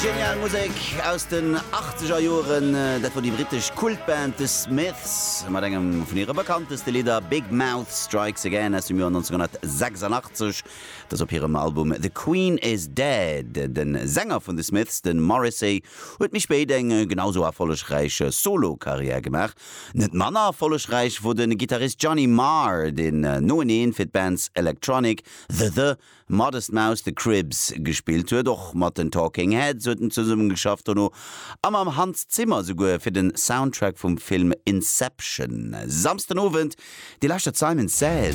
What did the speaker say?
Genial Musek aus den achtzeger Joren, dat wor déi brittesch Kultband The Smiths mat engem vun hire bekannteste Lidder Big Mouth Strikes Again aus dem Joer 1986. Dat ass op hirem Album The Queen Is Dead. De Sänger vun The Smiths, de Morrissey, huet méi spéit eng genau sou erfollegräich Solo-Karriär gemaach. Net manner erfollegräich wor de Gittarist Johnny Marr, deen noeneen fir d'Bands Electronic, The The, Modest Mouse, The Cribs gespillt huet. Och mat den Talking Heads huet en zesummegeschafft dono a mam Hans Zimmer souguer fir den Soundtrack vum Film Inception. Samsden Owend, Dir lauschtert Simon Says.